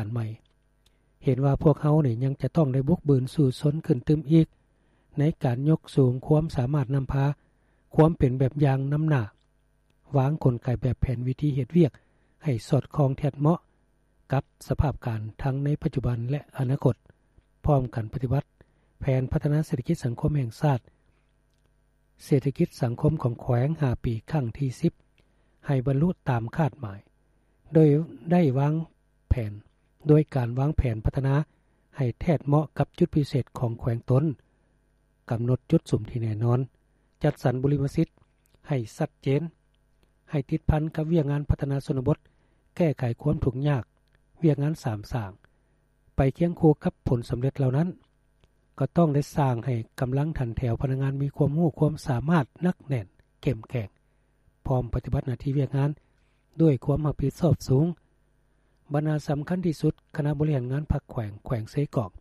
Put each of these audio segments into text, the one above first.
ານໃໝ່. ເຫັນວ່າພວກເຮົານີ້ຍັງຈະຕ້ອງໄດ້ບຸກບືນສູ້ຊົນຂຶ້ນຕື່ມອີກ ໃນການຍົກສູງຄວາມສາມາດນຳພາ, ຄວາມເປັນແບບຢ່າງນຳໜ້າ, ວາງກົນໄກແບບແຜນວິທີເຮັດວຽກໃຫ້ສອດຄ່ອງແທດເໝາະກັບສະພາບການທັງໃນປັດຈຸບັນ ແລະ ອະນາຄົດ, ພ້ອມກັນປະຕິບັດແຜນພັດທະນາເສດຖະກິດສັງຄົມແຫ່ງຊາດ, ເສດຖະກິດສັງຄົມຂອງແຂວງຫ້າປີຄັ້ງທີສິບ ໃຫ້ບັນລຸຕາມຄາດໝາຍ, ໂດຍໄດ້ວາງແຜນ, ໂດຍການວາງແຜນພັດທະນາໃຫ້ແທດເໝາະກັບຈຸດພິເສດຂອງແຂວງຕົນ, ກຳນົດຈຸດສຸມທີ່ແນ່ນອນ, ຈັດສັນບຸລິມະສິດໃຫ້ຊັດເຈນ, ໃຫ້ຕິດພັນກັບວຽກງານພັດທະນາຊົນນະບົດ, ແກ້ໄຂຄວາມທຸກຍາກ, ວຽກງານສາມສ້າງ. ໄປຄຽງຄູ່ກັບຜົນສຳເລັດເຫຼົ່ານັ້ນ, ກໍຕ້ອງໄດ້ສ້າງໃຫ້ກຳລັງຖັນແຖວພະນັກງານມີຄວາມຮູ້ຄວາມສາມາດໜັກແໜ້ນເຂັ້ມແຂງ, ພ້ອມປະຕິບັດໜ້າທີ່ວຽກງານດ້ວຍຄວາມຮັບຜິດຊອບສູງ. ບັນຫາສຳຄັນທີ່ສຸດ, ຄະນະບໍລິຫານງານພັກແຂວງ, ແຂວງເຊກອງ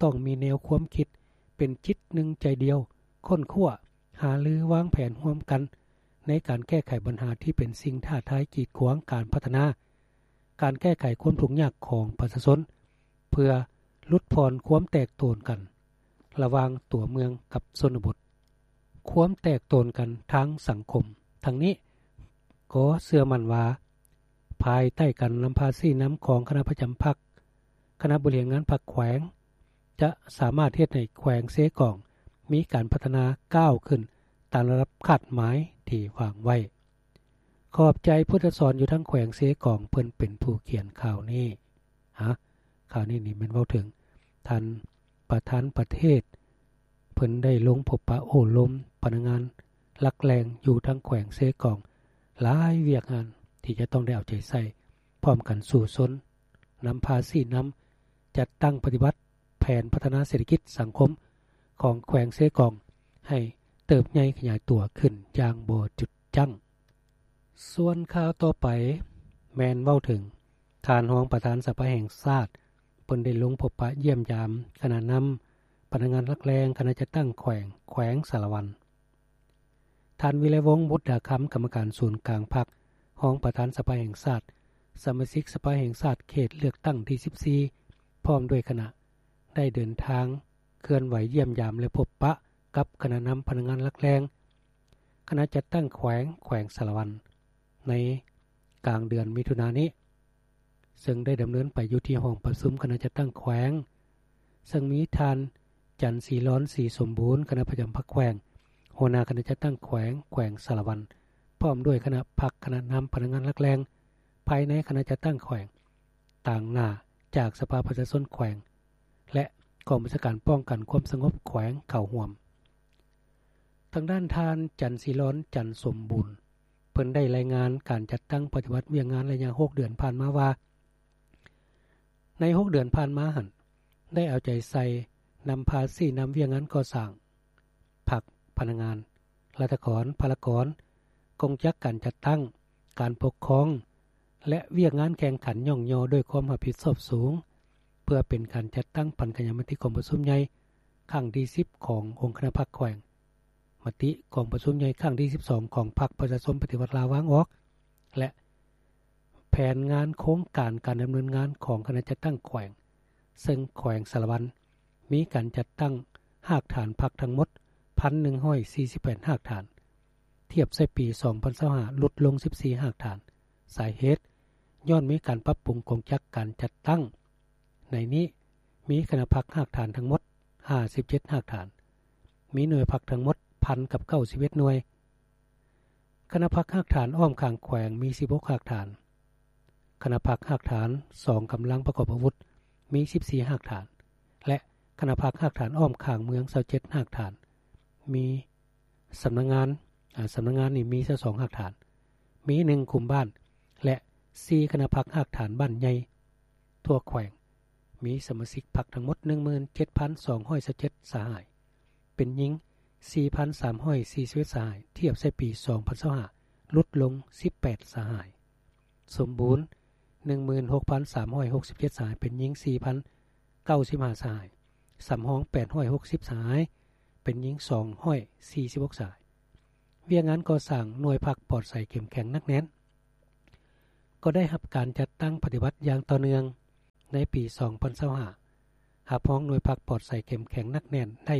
ຕ້ອງມີແນວຄວາມຄິດເປັນຈິດໜຶ່ງໃຈດຽວ, ຄົ້ນຄວ້າ, ຫາລື, ວາງແຜນຮ່ວມກັນໃນການແກ້ໄຂບັນຫາທີ່ເປັນສິ່ງທ້າທາຍກີດຂວາງການພັດທະນາ, ການແກ້ໄຂຄວາມທຸກຍາກຂອງປະຊາຊົນ, ເພື່ອຫຼຸດຜ່ອນຄວາມແຕກໂຕນກັນລະຫວ່າງຕົວເມືອງກັບຊົນນະບົດ, ຄວາມແຕກໂຕນກັນທາງສັງຄົມ. ທັງນີ້ກໍເຊື່ອໝັ້ນວ່າ ພາຍໃຕ້ການນຳພາຊີ້ນຳຂອງຄະນະປະຈຳພັກ, ຄະນະບໍລິຫານງານພັກແຂວງ ຈະສາມາດເຮັດໃຫ້ແຂວງເຊກອງມີການພັດທະນາກ້າວຂຶ້ນຕາມລະດັບຄາດໝາຍທີ່ວາງໄວ້. ຂອບໃຈຜູ້ທີ່ສອນຢູ່ທາງແຂວງເຊກອງ, ເພິ່ນເປັນຜູ້ຂຽນຂ່າວນີ້. ຮະ ຂ່າວນີ້ນີ້ແມ່ນເວົ້າເຖິງທ່ານປະທານປະເທດ, ເພິ່ນໄດ້ລົງພົບປະໂອ້ລົມພະນັກງານຫຼັກແຫຼ່ງຢູ່ທາງແຂວງເຊກອງ ຫຼາຍວຽກງານທີ່ຈະຕ້ອງໄດ້ເອົາໃຈໃສ່ ພ້ອມກັນສູ້ຊົນ ນຳພາຊີ້ນຳ ຈັດຕັ້ງປະຕິບັດແຜນພັດທະນາເສດຖະກິດສັງຄົມຂອງແຂວງເຊກອງ ໃຫ້ເຕີບໃຫຍ່ຂະຫຍາຍຕົວຂຶ້ນຢ່າງບໍ່ຢຸດຢັ້ງ. ສ່ວນຂ່າວຕໍ່ໄປແມ່ນເວົ້າເຖິງ ທ່ານຮອງປະທານສະພາແຫ່ງຊາດ ເພິ່ນໄດ້ລົງພົບປະຢ້ຽມຢາມຄະນະນຳພະນັກງານຫຼັກແຫຼ່ງຄະນະຈັດຕັ້ງແຂວງ ແຂວງສາລະວັນ. ທ່ານ ວິໄລວົງ ບຸດດາຄຳ ກຳມະການສູນກາງພັກ, ຮອງປະທານສະພາແຫ່ງຊາດ, ສະມາຊິກສະພາແຫ່ງຊາດເຂດເລືອກຕັ້ງທີສິບສີ່ ພ້ອມດ້ວຍຄະນະ ໄດ້ເດີນທາງເຄື່ອນໄຫວຢ້ຽມຢາມ ແລະ ພົບປະກັບຄະນະນຳພະນັກງານຫຼັກແຫຼ່ງ ຄະນະຈັດຕັ້ງແຂວງ ແຂວງສາລະວັນ ໃນກາງເດືອນມິຖຸນານີ້ ເຊິ່ງໄດ້ດຳເນີນໄປຢູ່ທີ່ຫ້ອງປະຊຸມຄະນະຈັດຕັ້ງແຂວງ ເຊິ່ງມີທ່ານ ຈັນສີລອນ ສີສົມບູນ ຄະນະປະຈຳພັກແຂວງ, ຫົວໜ້າຄະນະຈັດຕັ້ງແຂວງ ແຂວງສາລະວັນ ພ້ອມດ້ວຍຄະນະພັກຄະນະນຳພະນັກງານຫຼັກແຫຼ່ງ ພາຍໃນຄະນະຈັດຕັ້ງແຂວງ ຕາງໜ້າຈາກສະພາປະຊາຊົນແຂວງ ແລະ ກອງບັນຊາການປ້ອງກັນຄວາມສະຫງົບແຂວງເຂົ້າຮ່ວມ. ທາງດ້ານທ່ານ ຈັນສີລອນ ຈັນສົມບູນ ເພິ່ນໄດ້ລາຍງານການຈັດຕັ້ງປະຕິບັດວຽກງານໄລຍະຫົກເດືອນຜ່ານມາວ່າ ໃນຫົກເດືອນຜ່ານມາຫັ້ນ ໄດ້ເອົາໃຈໃສ່ນຳພາຊີ້ນຳວຽກງານກໍ່ສ້າງ, ພັກ, ພະນັກງານ, ລັດຖະກອນ, ພາລະກອນ, ກົງຈັກການຈັດຕັ້ງ, ການປົກຄອງ ແລະ ວຽກງານແຂ່ງຂັນຍ້ອງຍໍດ້ວຍຄວາມຮັບຜິດຊອບສູງ ເພື່ອເປັນການຈັດຕັ້ງປັນກະຍາມະຕິກອງປະຊຸມໃຫຍ່ຄັ້ງທີສິບຂອງອົງຄະນະພັກແຂວງ, ມະຕິກອງປະຊຸມໃຫຍ່ຄັ້ງທີສິບສອງຂອງພັກປະຊາຊົນປະຕິວັດລາວວາງອອກ ແລະ ແຜນງານໂຄງການການດຳເນີນງານຂອງຄະນະຈັດຕັ້ງແຂວງ, ເຊິ່ງແຂວງສາລະວັນມີການຈັດຕັ້ງຮາກຖານພັກທັງໝົດ ໜຶ່ງພັນໜຶ່ງຮ້ອຍສີ່ສິບແປດຮາກຖານ, ທຽບໃສ່ປີສອງພັນຊາວຫ້າ ຫຼຸດລົງສິບສີ່ຮາກຖານ. ສາເຫດຍ້ອນມີການປັບປຸງກົງຈັກການຈັດຕັ້ງ. ໃນນີ້ມີຄະນະພັກຮາກຖານທັງໝົດຫ້າສິບເຈັດຮາກຖານ, ມີໜ່ວຍພັກທັງໝົດພັນກັບເກົ້າສິບເອັດໜ່ວຍ, ຄະນະພັກຮາກຖານອ້ອມຂ້າງແຂວງມີສິບຫົກຮາກຖານ, ຄະນະພັກຮາກຖານສອງກຳລັງປະກອບອາວຸດມີສິບສີ່ຮາກຖານ ແລະ ຄະນະພັກຮາກຖານອ້ອມຂ້າງເມືອງຊາວເຈັດຮາກຖານ, ມີສຳນັກງານ, ອາ, ສຳນັກງານນີ້ມີຊາວສອງຮາກຖານ, ມີໜຶ່ງກຸ່ມບ້ານ ແລະ ສີ່ຄະນະພັກຮາກຖານບ້ານໃຫຍ່. ທົ່ວແຂວງມີສະມາຊິກພັກທັງໝົດໜຶ່ງໝື່ນເຈັດພັນສອງຮ້ອຍຊາວເຈັດສະຫາຍ, ເປັນຍິງສີ່ພັນສາມຮ້ອຍສີ່ສິບເອັດສະຫາຍ, ທຽບໃສ່ປີສອງພັນຊາວຫ້າ ຫຼຸດລົງສິບແປດສະຫາຍ. ສົມບູນໜຶ່ງໝື່ນຫົກພັນສາມຮ້ອຍຫົກສິບເຈັດສະຫາຍ, ເປັນຍິງສີ່ພັນເກົ້າສິບຫ້າສະຫາຍ, ສຳຮອງແປດຮ້ອຍຫົກສິບສະຫາຍ, ເປັນຍິງສອງຮ້ອຍສີ່ສິບຫົກສະຫາຍ. ວຽກງານກໍ່ສ້າງໜ່ວຍພັກປອດໃສເຂັ້ມແຂງໜັກແໜ້ນ ກໍໄດ້ຮັບການຈັດຕັ້ງປະຕິບັດຢ່າງຕໍ່ເນື່ອງ. ໃນປີສອງພັນຊາວຫ້າ ຮັບຮອງໜ່ວຍພັກປອດໃສເຂັ້ມແຂງໜັກແໜ້ນໄດ້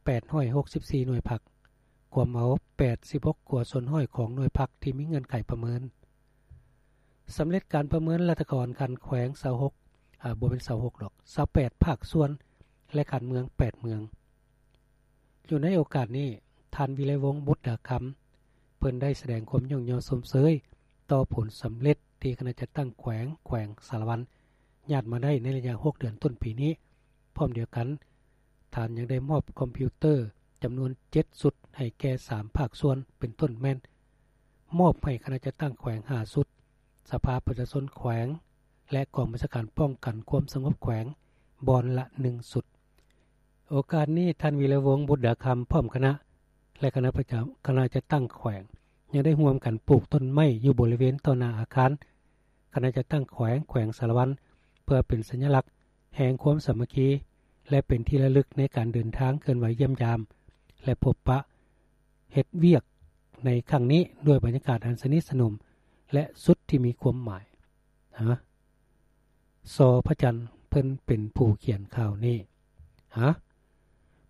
ແປດຮ້ອຍຫົກສິບສີ່ໜ່ວຍພັກ, ກວມເອົາແປດສິບຫົກກວ່າສ່ວນຮ້ອຍຂອງໜ່ວຍພັກທີ່ມີເງື່ອນໄຂປະເມີນ. ສຳເລັດການປະເມີນລັດຖະກອນຂັ້ນແຂວງຊາວຫົກ ອາ ບໍ່ແມ່ນຊາວຫົກດອກ ຊາວແປດພາກສ່ວນ ແລະ ຂັ້ນເມືອງແປດເມືອງ. ຢູ່ໃນໂອກາດນີ້ ທ່ານ ວິໄລວົງ ບຸດດາຄຳ ເພິ່ນໄດ້ສະແດງຄວາມຍ້ອງຍໍຊົມເຊີຍຕໍ່ຜົນສຳເລັດທີ່ຄະນະຈັດຕັ້ງແຂວງ ແຂວງສາລະວັນ ຍາດມາໄດ້ໃນໄລຍະຫົກເດືອນຕົ້ນປີນີ້. ພ້ອມດຽວກັນ ທ່ານຍັງໄດ້ມອບຄອມພິວເຕີຈຳນວນເຈັດຊຸດໃຫ້ແກ່ສາມພາກສ່ວນ ເປັນຕົ້ນແມ່ນ ມອບໃຫ້ຄະນະຈັດຕັ້ງແຂວງຫ້າຊຸດ, ສະພາປະຊາຊົນແຂວງ ແລະ ກອງບັນຊາການປ້ອງກັນຄວາມສະຫງົບແຂວງ ບ່ອນລະໜຶ່ງຊຸດ. ໂອກາດນີ້ ທ່ານ ວິໄລວົງ ບຸດດາຄຳ ພ້ອມຄະນະ ແລະ ຄະນະປະຈຳ ຄະນະຈັດຕັ້ງແຂວງ ຍັງໄດ້ຮ່ວມກັນປູກຕົ້ນໄມ້ຢູ່ບໍລິເວນຕໍ່ໜ້າອາຄານຄະນະຈັດຕັ້ງແຂວງ ແຂວງສາລະວັນ ເພື່ອເປັນສັນຍະລັກແຫ່ງຄວາມສາມັກຄີ ແລະ ເປັນທີ່ລະລຶກໃນການເດີນທາງເຄື່ອນໄຫວຢ້ຽມຢາມ ແລະ ພົບປະເຮັດວຽກໃນຄັ້ງນີ້ ດ້ວຍບັນຍາກາດອັນສະໜິດສະໜົມ ແລະ ຊຸດທີ່ມີຄວາມໝາຍ. ຮະ? ສໍພະຈັນ ເພິ່ນເປັນຜູ້ຂຽນຂ່າວນີ້. ຮະ?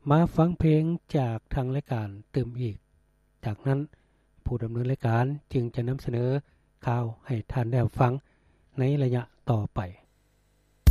ມາຟັງເພງຈາກທາງລາຍການຕື່ມອີກ. ຈາກນັ້ນ ຜູ້ດຳເນີນລາຍການຈຶ່ງຈະນຳສະເໜີຂ່າວໃຫ້ທ່ານໄດ້ຮັບຟັງໃນໄລຍະຕໍ່ໄປ.